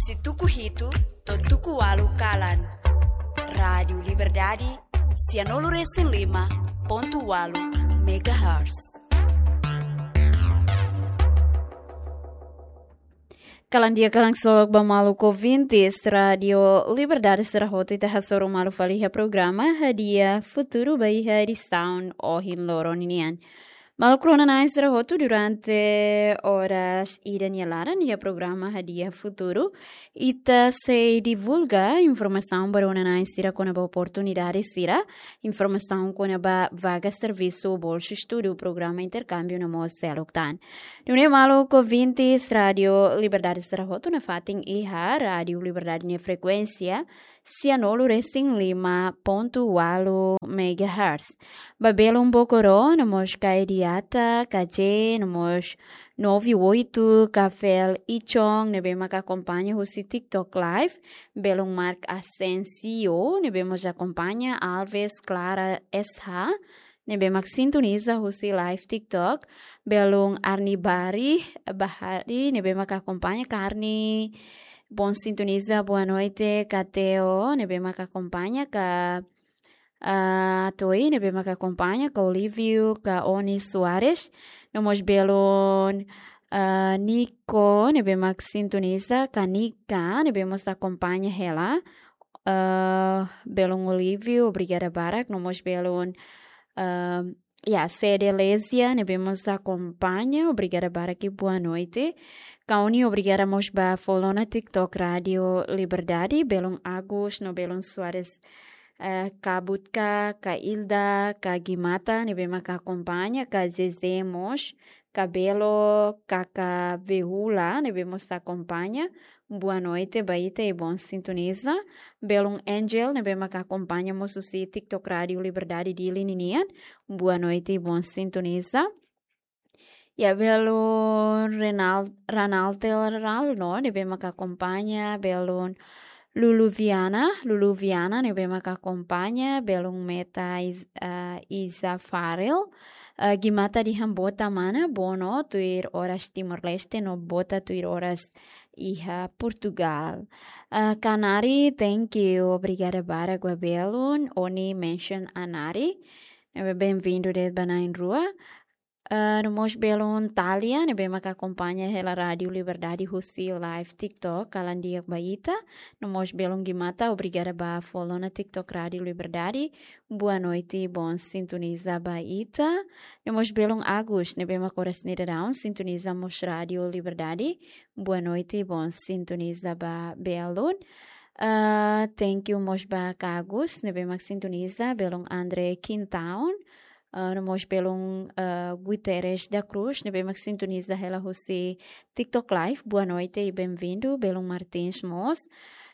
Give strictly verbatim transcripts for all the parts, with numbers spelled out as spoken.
Husi tuku hitu to'o tuku ualu kalan. Rádiu Liberdade, sianulu resin lima pontu ualu megahertz. Kalan di'ak, kalan solok ba maluk ouvintes Rádiu Liberdade sira hotu, ita hasoru malu fali iha programa Hadi'a Futuru ba iha edisaun ohin loron nian. Maluk rona-na'in sira hotu, durante oras ida nia laran iha programa Hadi'a Futuru, ita sei divulga informasaun ba rona-na'in sira kona-ba oportunidade sira, informasaun kona-ba vaga servisu, bolsa estudu, programa interkámbiu no mós seluk tan. Nune'e maluk ouvintes Rádiu Liberdade sira hotu, nafatin iha Rádiu Liberdade nia frekuénsia sianulu resin lima pontu ualu megahertz. Ba belun Bokoro, no mós Kaediata, Kaje, no mós noventa e oito, Kafel Ichong, ne'ebé maka akompaña husi TikTok Live, belun Mark Asensio, ne'ebé mós akompaña, Alves Clara S H, ne'ebé mak sintoniza husi live TikTok, belun Arni Bari, Bahari, ne'ebé maka akompaña, Karni, bon sintoniza, boa noite, Kateo, ne'ebé maka akompaña, ka, ah, Toi, ne'ebé maka akompaña, ka Olívio, ka Oni Soares, no mós belun, ah, Nico, ne'ebé mak sintoniza, ka Nika, ne'ebé mós akompaña hela, ah, belun Olívio, obrigada barak, no mós belun, ah, ya, Sede Lesia, ne'ebé mós akompaña, obrigada barak i boa noite. Kauni, obrigada mós ba follow ona TikTok Rádiu Liberdade, belun Agus, no belun Soares, eh, Kabutka, ka Ilda, ka Gimata, ne'ebé maka akompaña, ka Zezé mós, Kabelo, Kaka Behula, ne'ebé mós akompaña, boa noite ba ita i bon sintoniza. Belun Angel, ne'ebé maka akompaña mós husi TikTok Rádiu Liberdade Dili ninian, boa noite i bon sintoniza. Ya, belun Renal-, Ranaltel Ralno, ne'ebé maka akompaña, belun Lulu Viana, Lulu Viana, ne'ebé maka akompaña, belun Meta Is-, ah, Isa Farel, ah, Gimata dehan bota mana, bono, tuir oras Timor-Leste, no bota tuir oras iha Portugal. Ah, Kanari, thank you, obrigada barak ba belun, Oni mention Anari, ne'ebé benvindu de'it ba na'in-rua. Ah, no mós belun Talia, ne'ebé maka akompaña hela Rádiu Liberdade husi live TikTok, kalan di'ak ba ita. No mós belun Gimata, obrigada ba follow ona TikTok Rádiu Liberdade, boa noite, bon sintoniza ba ita. No mós belun Agus, ne'ebé maka oras ne'e daudaun sintoniza mós Rádiu Liberdade, boa noite, bon sintoniza ba belun. Ah, thank you mós ba Agus, ne'ebé mak sintoniza, belun André Quintaun, ah, no mós belun, ah, Guterres da Cruz, ne'ebé mak sintoniza hela husi TikTok Live, boa noite i benvindu, belun Martins mós.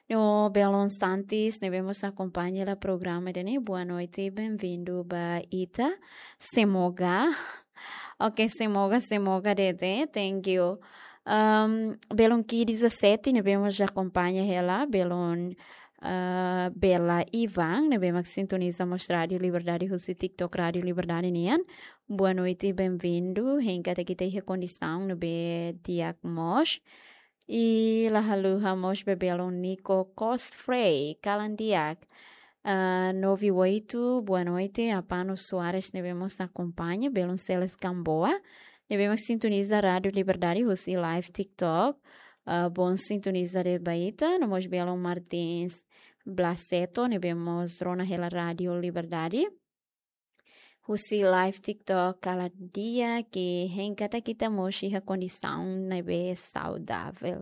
No belun Santis, ne'ebé mós akompaña hela programa ida-ne'e, boa noite i benvindu ba ita. Semoga. Ok, semoga, semoga de'it, thank you. Um, belun Ki dezassete, ne'ebé mós akompaña hela, belun, ah, Bela Ivan, ne'ebé mak sintoniza mós Rádiu Liberdade husi TikTok Rádiu Liberdade nian. Boa noite, benvindu. Hein katak ita iha kondisaun ne'ebé di'ak mós. I la haluha mós ba belun Nico Cosfrey, kalan di'ak. Ah, noventa e oito, boa noite, Apano Soares, ne'ebé mós akompaña, belun Celes Gamboa, ne'ebé mak sintoniza Rádiu Liberdade husi live TikTok. Ah, bon sintoniza de'it ba ita, no mós belun Martins Blaseto, ne'ebé mós rona hela Rádiu Liberdade husi live TikTok, kalan di'ak, hein katak ita mós iha kondisaun ne'ebé saudavel.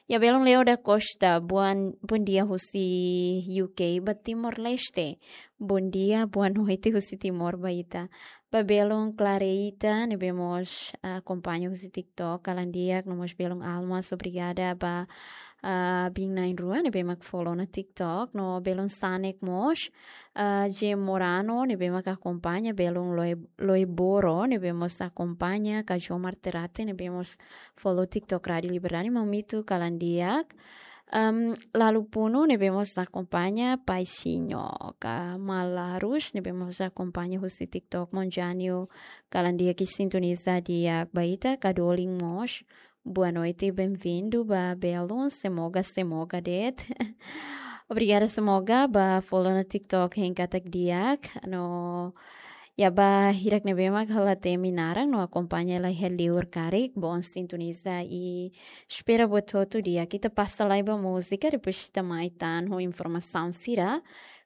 Ya, belun Leo da Costa, bom, bom dia husi U K ba Timor-Leste. Bom dia, boa noite husi Timor ba ita. Ba belun Clareita, ne'ebé mós, ah, akompaña husi TikTok, kalan di'ak, no mós belun Almas, obrigada ba, ah, biin na'in-rua, ne'ebé mak follow ona TikTok, no belun Sanek mós, ah, J Morano, ne'ebé mak akompaña, belun Loi-, Loiboro, ne'ebé mós akompaña, ka Jomar Terate, ne'ebé mós follow TikTok Rádiu Liberdade, Mamito, kalan di'ak. Am, Lalu Puno, ne'ebé mós akompaña, Paisinho, ka Malarus, ne'ebé mós akompaña husi TikTok, Monjanio, kalan di'ak i sintoniza di'ak ba ita, ka Dolin mós, Boa noite, bem-vindo ba Belun, semoga, semoga de'it. Obrigada, semoga, ba follow ona TikTok hein katak di'ak, no iha ba hirak ne'ebé mak hela temi naran, no akompaña hela iha liur karik, bom sintoniza i espera buat hotu di'ak. Ita pasa lai ba múzika, depois ita mai tan ho informasaun sira,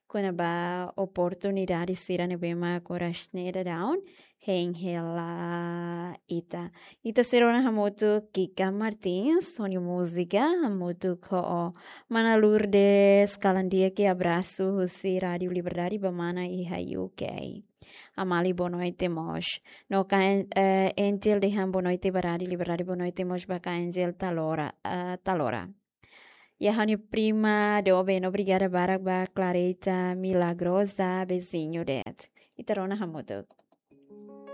kona-ba oportunidade sira ne'ebé mak oras ne'e daudaun hein hela ita. Ita sei rona hamutuk Kika Martins, ho nia múzika, hamutuk ho mana Lourdes Kalandia, ke abrasu husi Rádio Liberdade ba mana iha U K. Amali boa noite mós. No ka, eh, Angel dehan boa noite ba Rádio Liberdade, boa noite mós ba ka Angel Talora, eh, Talora. Iha ha'u-nia prima doben, obrigada barak ba Clarita Milagrosa, beijinho de'it. Ita rona hamutuk.